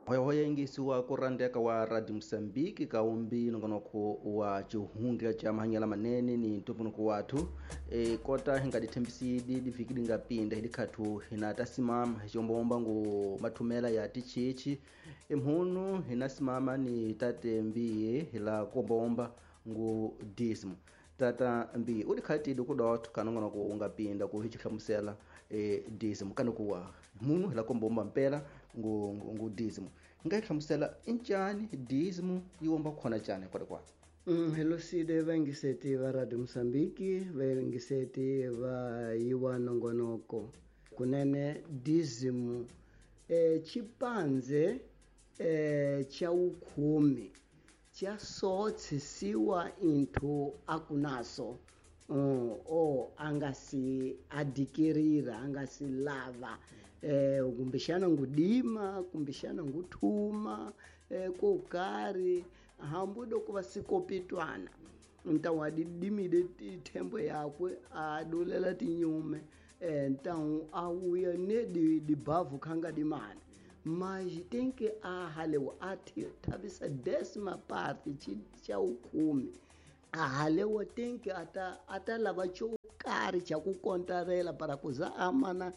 Hoyahoya yingisiwa ku rhandeka wa Radio Mosambiki ka umbi nongonoko wa xihundla xa mahanyelo manene ni ntumbuluko wathu. E kota hi nga dithembisidi divhiki di nga pinda hi dikhathu hina ta simama hi xiombaomba ngu mathumela ya tichichi emhunu hina simama ni tate mbiye hi la kuombaomba ngu dismo. Tata mbiye u dikhatile ku dotho ka nongonoko u nga pinda ku hi xi hlamusela dismo kana ku wa munhu hi la kombaomba mpela ngu dismo. Nga yi hlamusela incani dismo yi omba khona cani kwale kwale. Hello side vaingiseti va Radio Mosambiki, vaingiseti va yiwa nongonoko. Kunene dismo chipanze cha ukhume cha sotsisiwa into akunaso o angasi adikirira angasi lava kumbexana ngudima kumbexana nguthuma ko karhi hambi loko va sikopitwana ntawu a dimile thembo yakwe a dulela tinyume ntawu a wuya ne dibavhu khanga dimana mas tem que a halewa a thavisa décima parte xa ukhume a halewa tem que ata lava xo karhi xa ku kontarela para ku za amana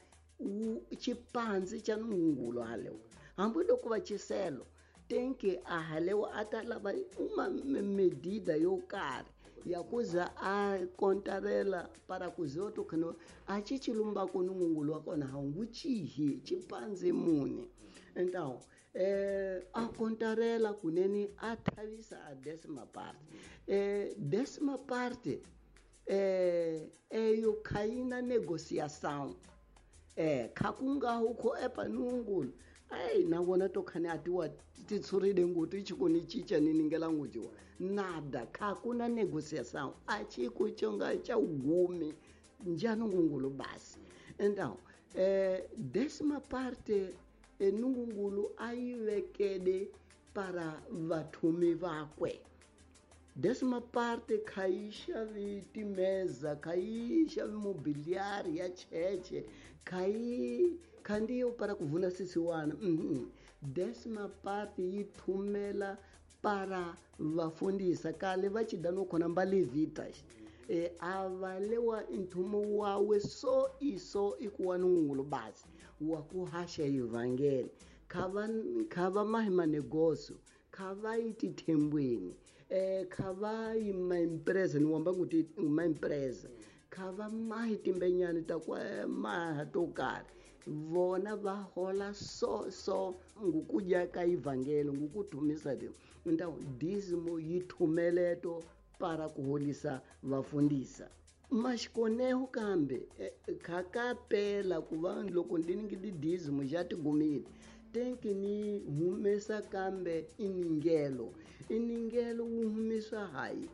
xipandzi xa nungulo halewa hambi loko va xiselo tem que a halewa ata lava uma medida yo karhi ya ku za a kontarela para ku za to khano a xi xilumba ku nungulo wa kona ha ngu chihi xipandzi muni. Então a kontarela kunene a thavisa a décima parte. Décima parte eyo khayina negociação khakungaho kho epa nungulo ai na vona to khane atiwa titshurile nguti chikoni chicha ni ningela ngutiwa nada khakuna negociação a chiku chonga cha ugumi njano ngungulu basi. Então décima parte nungungulu ayivekede para vathumi vakwe. Décima parte khaixavi timeza khaixavi mobiliário ya cheche khai khandiyo para kuvuna sisiwana. Décima parte yi thumela para vafundisa kale va chidano khona mbalevitas avalewa nthumo wawe so iso ikuwa nungulu basi wa ku haxa evangeli khava mahi manegoso khava yi tithembweni khava yi maempresa ni wamba kuti maempresa khava mahi timbenyani ta kwa maha to karhi vona va hola so so ngukudya ka evangeli ngukuthumisa ti então dízimo yi thumeleto para ku holisa vafundisa. Maxikoneho kambe khakapela ku va loko ndi ningi dízimo xa tigumile tenki ni humesa kambe iningelo iningelo wu humisa hayi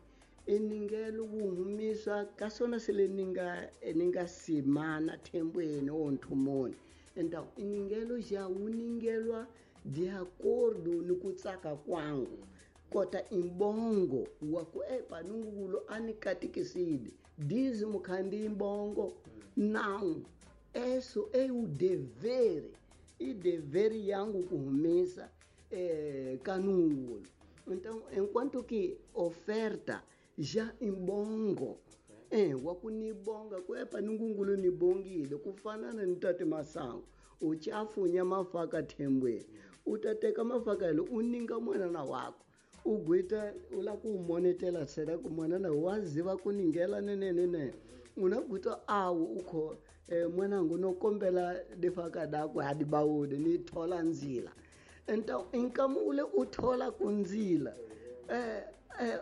iningelo wu humisa ka swona sele ni nga simana thembweni o nthumoni. Então iningelo xa wu ningelwa de acordo ni ku tsaka kwangu kota imbongo wa ku epa nungulo ani katikiside dízimo khandi imbongo não eso é o dever e dever yangu kuhumisa kanungulo. Então enquanto que oferta já imbongo wa ku nibonga ku epa nungulo nibongile kufanana ni tate masango uchafunya mafaka thembweni utateka mafaka lo uninga mwana wako ugwita ula ku monetela sera ku mwana waziva kuningela nenene unagwita awu ukho mwanangu nokombela difaka dakwe adibawude ni thola nzila. Então inkamule uthola kunzila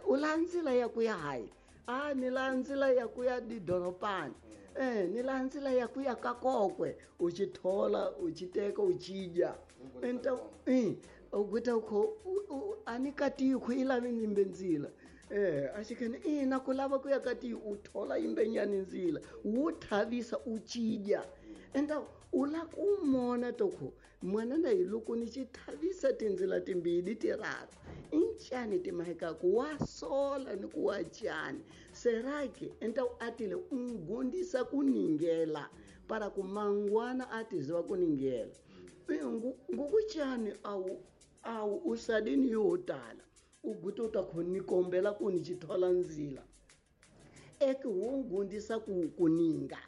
ulanzila ya kuya hayi a ni lanzila ya kuya didoropani ni lanzila ya kuya kakokwe uchithola uchiteka uchidya. Então ugwita ukho anikati khwila nimbe nzila ashikene ina kulava kuya kati uthola imbenyani nzila wuthavisa uchidya. Então ula kumona tokho mwana na iloko ni chithavisa tinzila timbili tiraru inchani timahekaku wasola ni kuwachani serake. Então atile ungondisa kuningela para kumangwana atiziva kuningela ngukuchani au Awu u sadini yo tala u guta u ta khoni kombela ku ni xithola ndzila eke wo ngundisa ku kuninga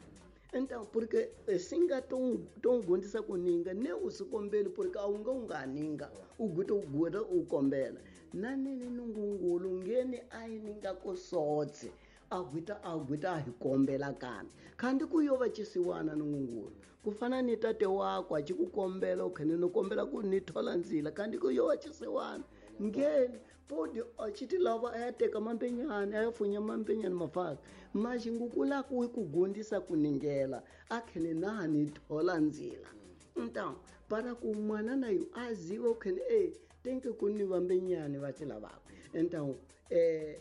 então porque singa to ngundisa kuninga ne u si kombeli porque a wu nga u nga ninga u guta u guta u kombela na nene nungungulu ngeni a yi ninga ku sotse a guta a hi kombela kambe khandi ku yo va chisiwana nungungulu ku fana ni tate wakwe a ci ku kombela u khene no kombela ku ni thola ndzila kandi ku yo va chisiwana ngeni podi a chiti lava a ya teka mambenyana a ya funya mambenyana mafaka maxingukula ku ku gondisa ku ningela a khene na ni thola ndzila então para ku mwana na yo a ziva u khene e tenke ku ni vambenyani va ci lavaka então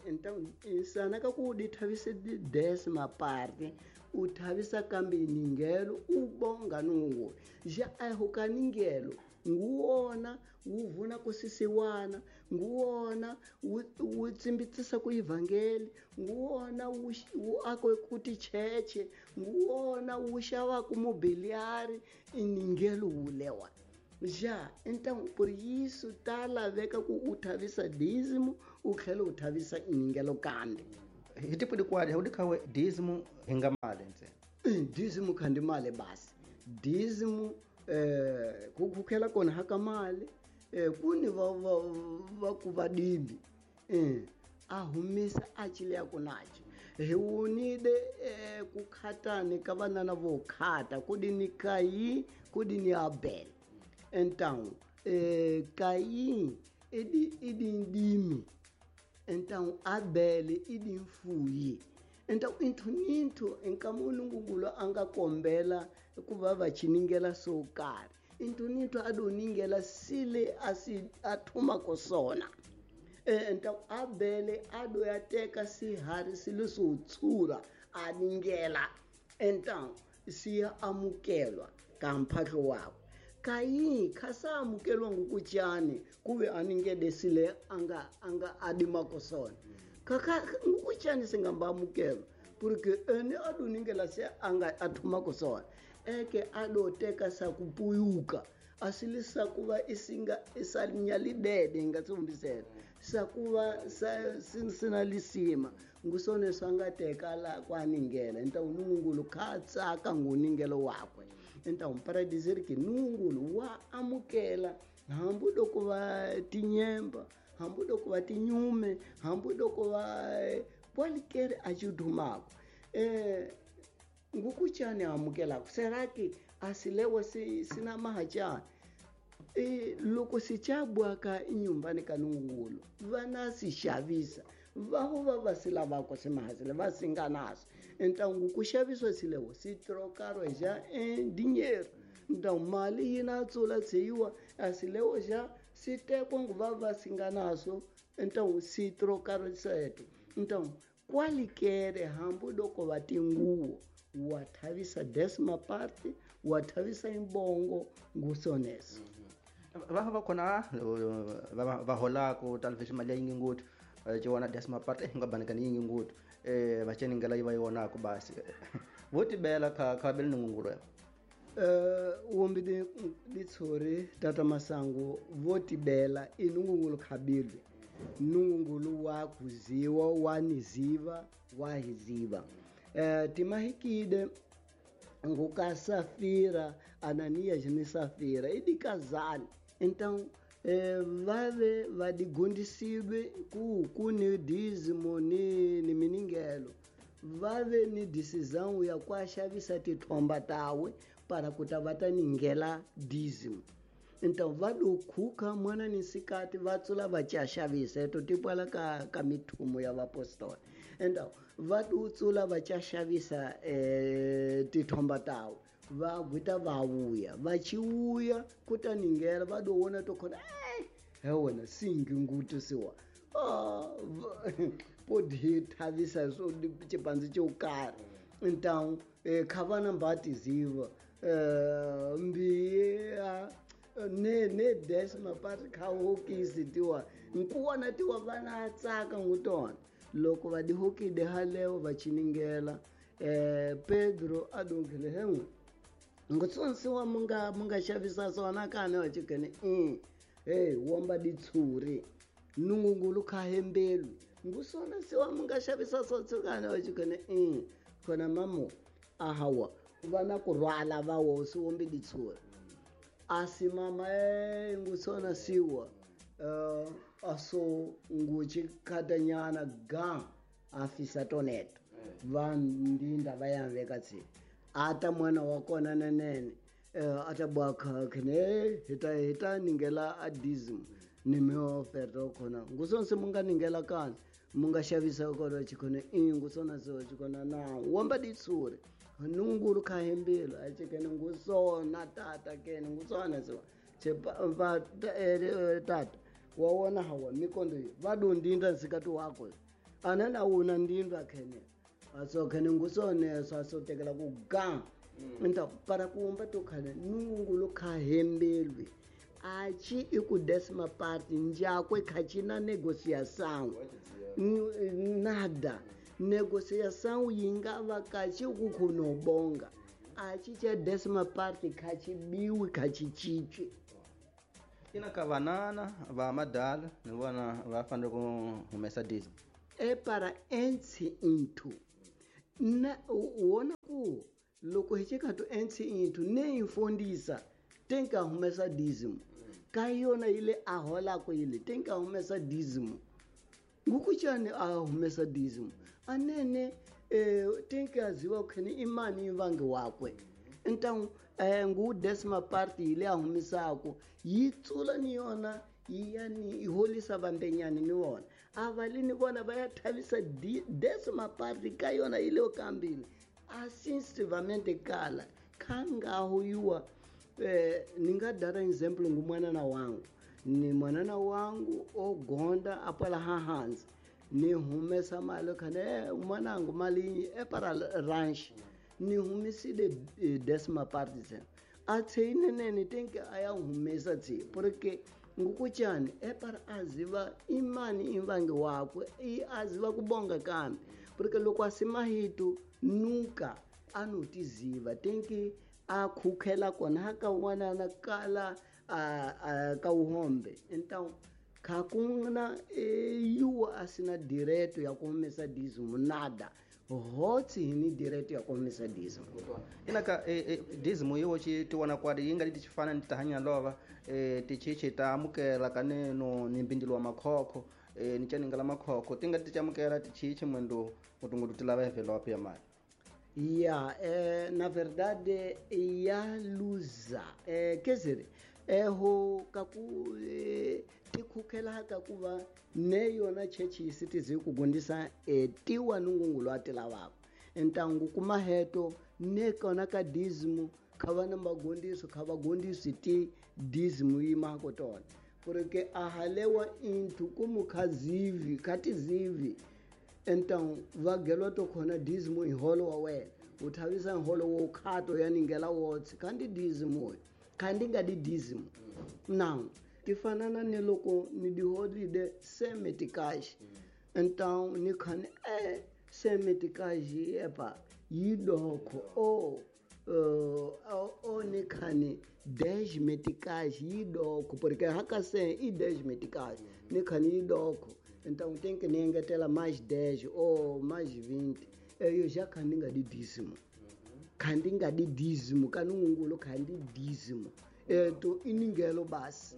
então insana ka ku di thavise di décima parte u thavisa kambe ningelo u bonga nungungulu ja a ho ka ningelo nguwona wu vuna ku sisiwana nguwona wu tsimbitsisa ku ivhangeli nguwona wu akwe ku ticheche nguwona wu xavaku mobiliari iningelo wulewa ja então por isso ta laveka ku u thavisa dízimo u tlhela u thavisa iningelo kambe hi tipo dikwadi hu dikhawe dízimo hi nga mali ntsena dízimo khandi mali basi dízimo ku khukhela kona haka mali kuni va ku vadimbi a humisa a chileya kunachi hi wunide ku khatani ka vanana vo khata ku di ni Kayi ku di ni Abel então Kayi idi ndimi então Abel idi mfuyi então inthu ninthu nkama nungungulu a nga kombela ku va va chiningela swo karhi inthu ninthu a do ningela sile a si a thumako sona então Abel a do ya teka sihari silo swo tshura a ningela então siya amukelwa ka mphahlo wakwe Kayi khasa amukelwa ngukuchani kuve aningede sile anga adimako sona kaka ngukuchani singamba amukelwa porque ene aduningela se anga athumako sona eke adoteka sakupuyuka asilisa kuva isinga isalinyalidede ngatsumbisela sakuva sina lisima ngusone swangateka la kwaningela então nungungulu khatsaka nguningelo wakwe então para dizer que nungungulu wa amukela hambi loko va tinyemba hambi loko va tinyume hambi loko va kwalikere a xidumako ngukuchani amukelako será que asilewa sina mahachani loko sichabwaka inyumbani ka nungungulu vana si xavisa vaho va va si lavako simahasile va singa naso então ngukuxaviswa silewo si trocaro já em dinheiro então mali yi na tsula tshiwa asilewo já si tekwa nguva va singa naso então si trocaro seto então kwalikere hambi loko va tinguwo wa thavisa décima parte wa thavisa imbongo ngusoneso va va khona va holako talvez mali ya yingi ngopfu ciwana décima parte nga banikani yingi ngopfu va ceningela yi va yonako basi vo tibela kha bele nungungulu wombi ditshori tata masangu vo tibela i nungungulu khabilwe nungungulu wa kuziwa wa niziva wa hiziva timahikide nguka Safira Ananias ni Safira idikazali então vave vadigundisiwe ku ni dízimo ni miningelo vave ni decisão ya ku xavisa tithomba tawe para ku ta va ta ningela dízimo então va do khuka mwana ni nsikati va tsula va ca xavisa eto tipwala ka mithumo ya vapostola então va do tsula va ca xavisa tithomba tawe va gwita va vuya va chiuya ku ta ningela va do wona to khona he wena singi ngutu siwa podi thavisa swo xipandzi xo karhi então kha vana mbatiziva mbiya ne décima parte kha hokisi tiwa nkuwana tiwa vana tsaka ngutona loko va dihokide halewo va chiningela Pedro adonkele henwe ngutsonsiwa munga xavisa swona kani wa chikene Hey, womba ditshuri nungungulu khahembelwi ngusona siwa munga xavisa sotsukana wa chikone khona mamo ahawa vana ku rhwala va wo si wombi ditshuri asi mama ngusona siwa aso nguchi khatanyana ga afisa toneto va ndinda va ya veka tsi ata mwana wa kona nenene ata bwa khene hita ningela a dízimo ni mi oferta khona ngusona se munga ningela kana munga xavisa kona chikhona ngusona se chikhona na womba ditsuri nungulu khahembelo a chikene ngusona tata kene ngusona se che va tata wa wona hawa mikondo va do ndinda nsikati wako anana wona ndinda khene aso khene ngusona sa so tekela ku ga então para kuumba to khane nungulu khahembelwe achi iku décima parte njakwe khachina negociação nada negociação yingava kachi kukhunobonga achi cha décima parte khachibiwi khachichichwi ina ka vanana va madala ni vona va fanele ku humesa dízimo e para entsi into na wona ku loko hi chikatu entsi into ne infondisa tenka humesa dízimo ka yona ile a holako ile tenka humesa dízimo ngukuchani a humesa dízimo anene tenka ziwa khene imani ivange wakwe então ngu décima parte ile a humisako yi tsula ni yona yani iholisa vambenyani ni wona avalini vona va ya thavisa décima parte ka yona ile kambili asensivamente kala khangaho yuwa ninga dara example ngu mwanana wangu ni mwanana wangu ogonda apala hahanzi ni humesa mali khane mwanangu mali e para ranch ni humisile décima parte zena athe inene tenke aya humesa tsi porque ngukuchani e para aziva imani imvange wakwe i aziva kubonga kambe porque loko asimahitu nunca anotiziva tenke a khukhela kona ka wanana kala a ka uhombe então khakuna yuwa asina direto ya kumesa dízimo nada hotsi hini direto ya kumesa dízimo ina ka dízimo yiwo chi tiwana kwadi yi nga li tichifana ni tihanya lova tichichi ta amukela kaneno ni mbindilo wa makhokho ni chaningela makhokho ti nga ti chamukela tichichi mwendo mutungutu ti lava envelope ya mali. Ya, na verdade ya luza quer dizer ho kaku tikhukhela kakuva ne yona chechi sitizi kugondisa tiwa nungungulu atilavako então kumaheto ne kona ka dízimo khava na magondiso khava gondisi ti dízimo yimako tona porque ahalewa intu kumu khazivi khatizivi então vagelwa to khona dízimo iholo wa wena u thavisa nholo wo khato ya ningela wotse kandi dízimo kandi nga di dízimo now tifanana ni loko ni di holide semetikash então ni khane semetikash epa yidokho o ni khane 10 meticais yidokho porque hakase i 10 meticais ni khane yidokho então tem que nengetela mais 10 ou mais 20 eu já khandinga di dízimo khandinga di dízimo kanungulo khandi dízimo to iningelo basi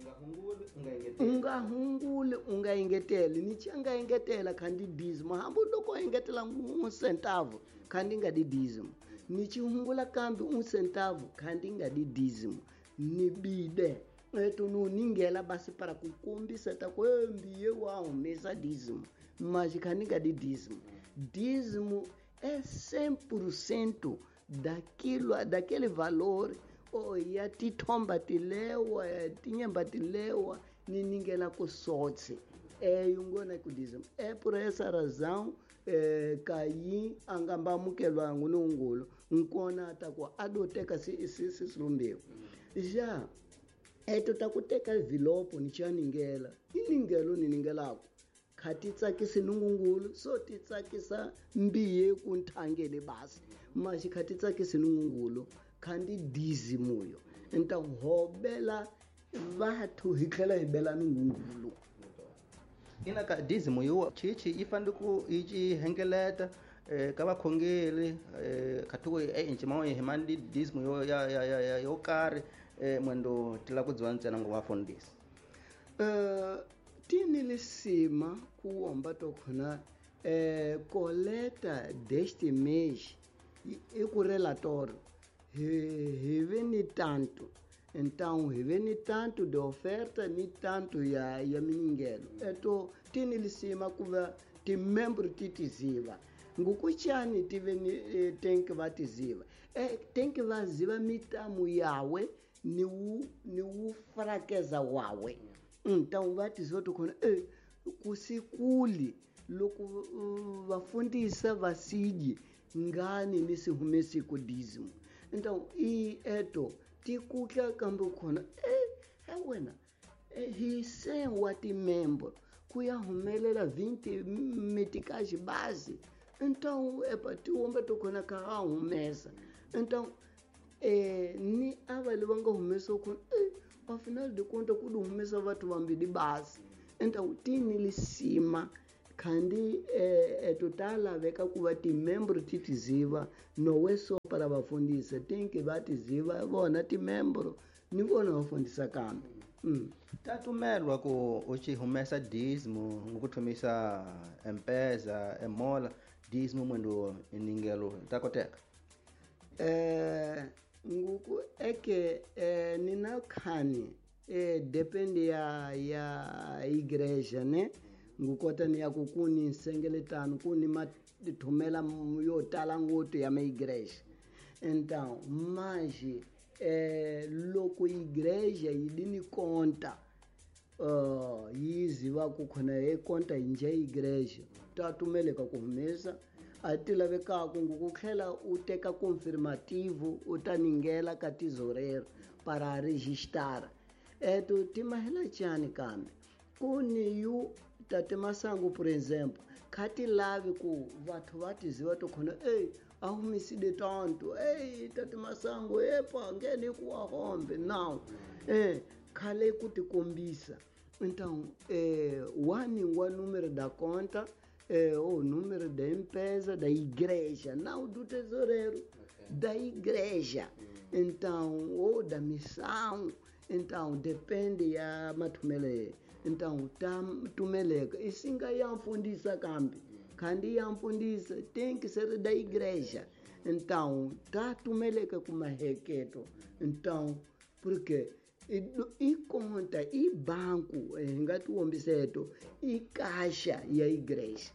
unga hunguli unga engeteli ni changa engetela khandi dízimo hambu loko engetela un centavo khandinga di dízimo ni chihungula kambi un centavo khandinga di dízimo ni bide eto no ningela basi para kukombisa ta kwembiye wa humesa dízimo mas khandinga di dízimo dízimo é 100% daquilo daquele valor o ya tithomba tilewa tinyemba tilewa ni ningela kusotse yungona ku dízimo é por essa razão kayi angamba amukelwa ngunungulu nkona ta ku adoteka sisilumbiwa já eto ta ku teka vilopo ni chaningela iningelo ni ningelako kha ti tsakisi nungungulu so ti tsakisa mbiye ku nthangele basi maxi kha ti tsakisi nungungulu kha ndi dízimo yo então hobela vathu hi tlhela hi bela nungungulu. Ina ka dízimo yo chichi yi fanele ku yi ci hengeleta ka vakhongeri khathuko encima hi mani dízimo yo ya ya ya yo karhi mwendo tila ku dziwa ntsena ngo vafundhisi. Tini lisima ku womba to khona coleta deste mês i ku relatório hi ve ni tanto, então hi ve ni tanto de oferta ni tanto ya miningelo. Eto tini lisima ku va timembro ti tiziva ngukuchani ti ve ni tenki va tiziva tenki va ziva mitamu yawe ni wu frakeza wawe. Então va tiziva to khona kusikuli loko vafundisa vasiji ngani ni si humesi ku dízimo. Então i eto tikutla kambe khona wena hi se wa timembro ku ya humelela 20 metikaji base. Então epa tiwomba to khona ka ha humesa. Então ni ava lava nga humesa khona afinal de conta ku humesa vathu vambili base. Então tini lisima khandi etotala veka ku va timembro ti tiziva nowe so para vafundisa tinki va tiziva vona timembro ni vona vafundisa kambe. Tatumelwa ku u ci humesa dízimo ngukuthomisa empeza emola dízimo mwendo iningelo ta koteka. Nguku eke nina khani depende ya igreja ne ngukota ni ya ku kuni nsengeletano kuni mathumela yo tala ngopfu ya maigreja. Então mas loko igreja yi di ni conta yi ziva ku khona hi conta hi nje igreja ta tumeleka ku humesa a ti lavekaku ku tlhela u teka confirmativo u ta ningela ka tesoureiro para registrar. Eto timahela chani kambe kuni yu tate Masangu por exemplo kha ti lavi ku vathu va tiziva to khona a humisile tanto tate Masangu epa ngene ku wa hombe now khale ku tikombisa. Então wani wa número da conta o número da empresa da igreja, não do tesoureiro, da igreja. Então ou da missão. Então depende ya mathumele. Então ta tumeleka isinga yamfundisa kambi kandi yamfundisa tem que ser da igreja. Então ta tumeleka kumaheketo. Então porque i conta i banco ngatiwombiseto i kasha ya igreja.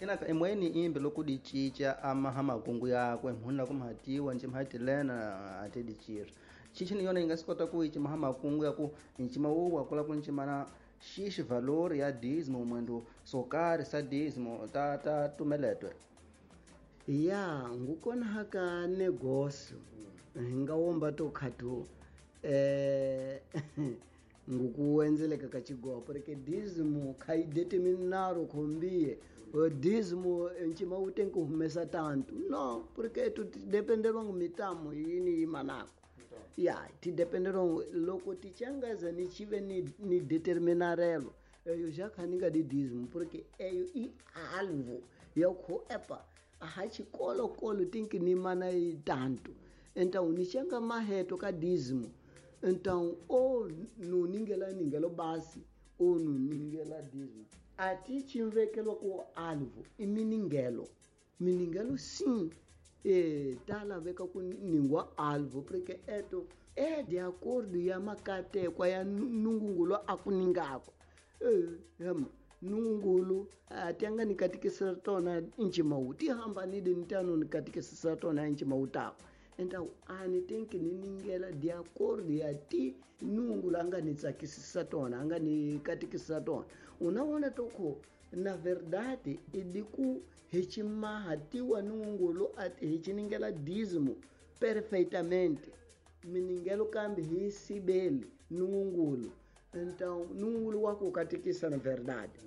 Ina emweni imbe loko di cinca amaha makungu yakwe mhuna kumhatiwa nje mhatilena atedichira chichi ni yona yi nga swi kota ku yi cima makungu ya ku ncima wu wa kula ku ncimana xixi valor ya dízimo mwendo so karhi sa dízimo ta tumeletwe. Ya ngukona haka negócio hi nga womba to khathu ngukuwenzeleka ka xigopo porque dízimo kha yi determinaro khombie dízimo ncima wu tenki humesa tanto no porque tu dependelwa ngu mitamu yini yi manako. Ya ti dependerong loko ti changaza ni chive ni determinarelo eyo já kha ni nga di dízimo porque eyo i alvo ya kho epa a xikolo kolo tinki ni mana yi tanto. Então ni changa maheto ka dízimo. Então o no ningela ningelo basi o no ningela dízimo ati chimvekelo ku alvo i miningelo miningelo sim ta laveka ku ningwa alvo porque eto de acordo ya makatekwa ya nungungulu a ku ningako nungungulu a ti anga ni katekisa tona ncimawu ti hambanile ni tano ni katekisa tona ncimawu tako. Então a ni tenki ni ningela de acordo ya ti nungungulu a nga ni tsakisisa tona a nga ni katekisa tona. Unavona toko na verdade i ku hi cimaha tiwa nungungulu hi ciningela dízimo perfeitamente miningelo kambe hi sibeli nungungulu. Então nungungulu wa ku katekisa na verdade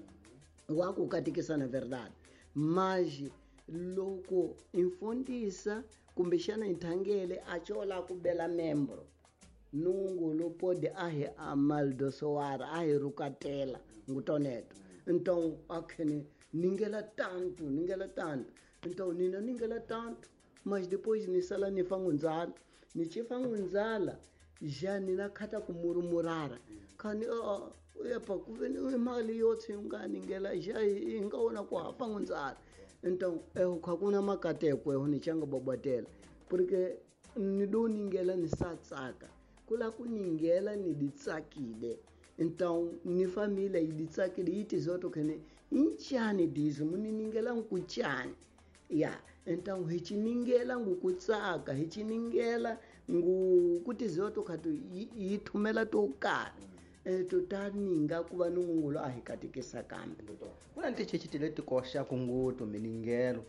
wa ku katekisa na verdade mas loko imfundisa kumbexana inthangele a chola ku bela membro Nungulu pode ahi amaldosoara ahi rukatela ngutoneto. Então akhene ningela tanto então nina ningela tanto, mas depois nisala nifangunzala nichifangunzala já nina khata kumurmurara khani epa kuveni imali yotse yunganingela já ingaona ku hafangunzala. Então eu khakuna makateko eu nichanga bobatela porque nidoningela nisatsaka kula kuningela niditsakile. Então ni família iditsakile iti zoto khene inchani dizo muniningela nkuchani ya. Então hichiningela ngukutsaka hichiningela ngukuti zoto khatu yithumela to karhi totaninga kuva nungulo a hi katekisa kambe kuna ntichechiti leti koxaka ngopfu miningelo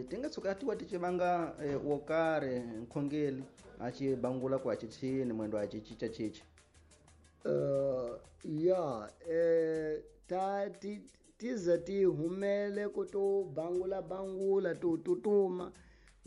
ti nga tshuka tiwa ti civanga wo karhi nkhongeli a ci bangula ku a ci tshini mwendo a ci cinca cinca ya ta ti tiza ti humele ku to bangula bangula to tutuma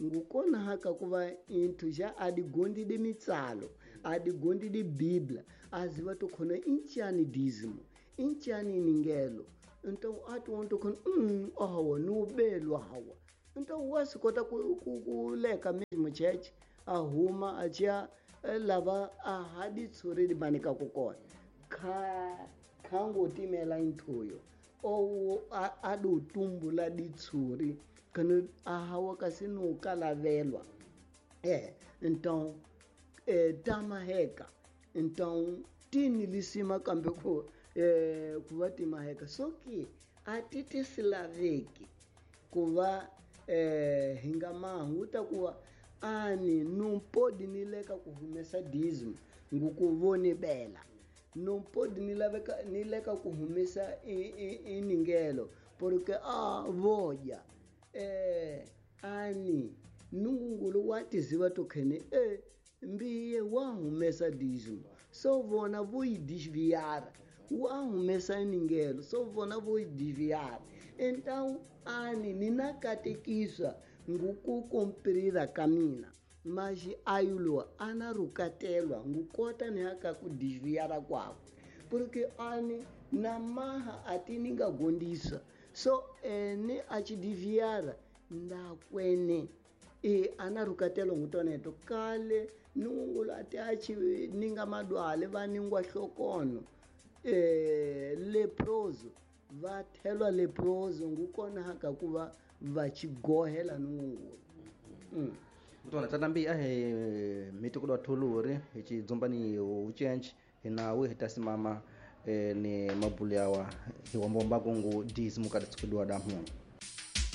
ngukona haka kuva inthu ja adigondi de mitsalo adigondi de bíblia aziva to khona inchani dízimo inchani ningelo. Então atu onto khona ahawa nubelwa hawa. Então wasikota ku leka mesmo church ahuma achia lava ahadi tsuri di manika kukona kha khangotimela inthuyo owo adu tumbula ditsuri kana ahawa kasi no kalavelwa então tamaheka. Então tini lisima kambe ku kuva timaheka soki atiti silaveki kuva hinga mahuta kuva ani não pode nileka kuhumesa dízimo ngukuvonibela não pode nileka kuhumesa iningelo porque a voja ani nungulu watiziva tokhene mbiye wahumesa dízimo so vona voidesviar wahumesa iningelo so vona voidesviar. Então ani ninakatekiswa ngukukomprira kamina mas ayulo anarukatelwa ngukota nihaka kudesviara kwakwe porque ani namaha atiningagondisa so ene achidiviara ndakwene anarukatelwa ngutoneto kale nungulu ati achi ninga madwale vaningwa hlokono leproso vathelwa leproso ngukona haka kuva vachigohela nungulu. Mutwana tatambi ahe mitikudo thuluri hi chidzumbani ucenci hi nawe hi tasimama ni mabulu yawa hi wambomba kungu dízimo kada tsukudiwa da munu.